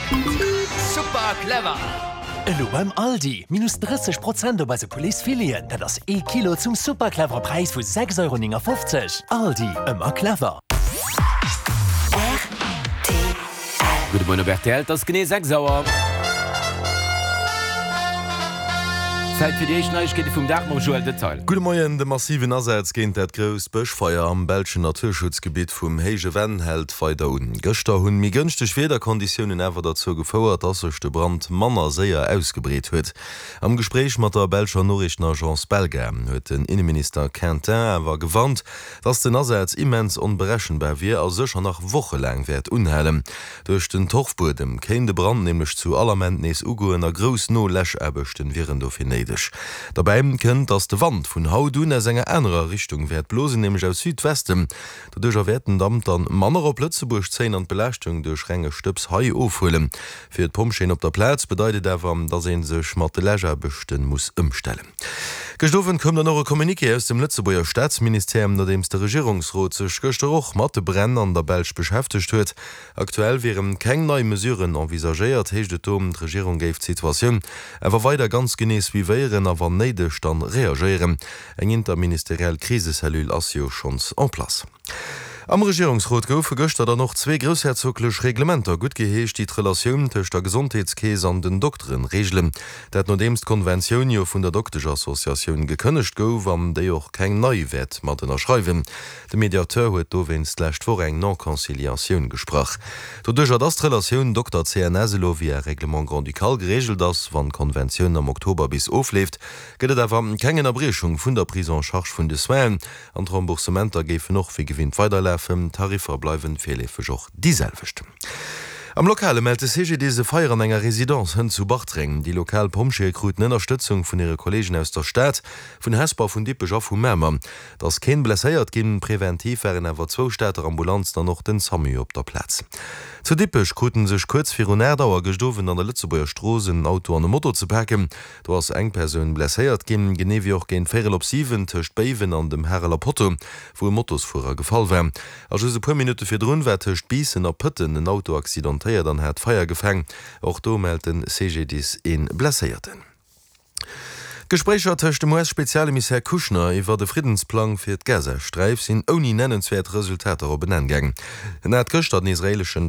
Super clever! Elo beim Aldi, minus 30 Prozent op eise Poulets Fileten, dat ass ee Kilo zum super clevere Präis vu 6,59 Euro. Aldi, ëmmer clever! Gudde Moien op rtl, et ass genee 6 Auer. Zäit fir déi éischt Neiegkeete vum Dag mam Joël Detail. Gudde Moien, De massiven Asaz géint dat grousst Bëschfeier am belschen Naturschutzgebitt vum Héije Venn hält weider un. Gëschter hunn méi gënschteg Wiederkonditiounen awer derzou gefouert, dass sech de Brand manner séier ausgebreet huet. Am Gespréich mat der belscher Noriichtenagence Belga huet den Inneminister Quintin awer gewarnt, dass den Asaz immens onberechenbar wier a sécher nach wochelaang wäert unhalen. Duerch den Torfbuedem kéint e Brand nämlech zu all Ament nees ugoen a grouss No-Läschaarbechten wieren dofir néideg. Derbäi kënnt, dass de Wand vun haut un aus enger anerer Richtung wäert blosen, nämlech aus Südwesten. Doduercher wäert den Damp dann manner op Lëtzebuerg zéien an d'Belaaschtung duerch renge Stëbs hei ofhuelen. Fir d'Pompjeeën op der Plaz bedeit et awer, dass ee sech mat de Läschaarbechten muss ëmstellen. Gëscht Owend koum dann och e Communiqué aus dem Lëtzebuerger Staatsministère, nodeems de Regierungsrot sech gëschter och mat de Bränn an der Belsch beschäftegt huet. Aktuell wiere keng nei Mesuren envisagéiert, heescht et do. D'Regierung géif d'Situatioun awer weider ganz genee suivéieren a wann néideg dann reagéieren. Eng interministeriell Krisecellule ass jo schonns en place. Am Regierungsrot goufe gëschter dann och zwee groussherzoglech Reglementer guttgeheescht, déi d'Relatioun tëscht der Gesondheetskeess an den Dokteren reegelen. Dat nodeems d'Konventioun jo vun der Dokteschassociatioun gekënnegt gouf an déi och keng nei wäert mat ënnerschreiwen. De Mediateur huet dowéinst d'lescht Woch eng Non-Conciliatioun gesprach. Doduercher dass d'Relatioun Dokter-CNS elo via Règlement grand-ducal gereegelt ass, wann d'Konventioun am Oktober bis ofleeft, gëtt et awer keng Ënnerbriechung vun der Prise en charge vun de Soinen. An d'Remboursementer géifen och wéi gewinnt weiderlafen, d'Tariffer bleiwen virleefeg och déi selwecht. Am Lokale mellt de CGDIS e Feier an enger Residence hënt zu Bartreng. Déi lokal Pompjeeë kruten Ënnerstëtzung vun hire Kolleegen aus der Stad, vun Hesper, vun Dippech a vu Mamer. Et ass keen blesséiert ginn, preventiv waren awer zwou Stater Ambulanzen an och den Samu op der Plaz. Zu Dippech kruten sech kuerz virun 8 Auer gëscht Owend an der Lëtzebuerger Strooss en Auto an e Moto ze paken. Do ass eng Persoun blesséiert ginn, genee wéi och géint véierel op 7 tëscht Béiwen an dem Hareler Potto, wou e Motosfuerer gefall war. A just e puer Minutte virdrun war tëscht Biissen a Pëtten en Auto accidentéiert an hat Feier gefaang. Och do mellt de CGDIS ee Blesséierten. D'Gespréicher tëscht dem US-Spezialemissär Kushner iwwert e Friddensplang fir d'Gazasträif sinn ouni nennenswäert Resultater op en Enn gaang. En hat gëschter den israeeleschen.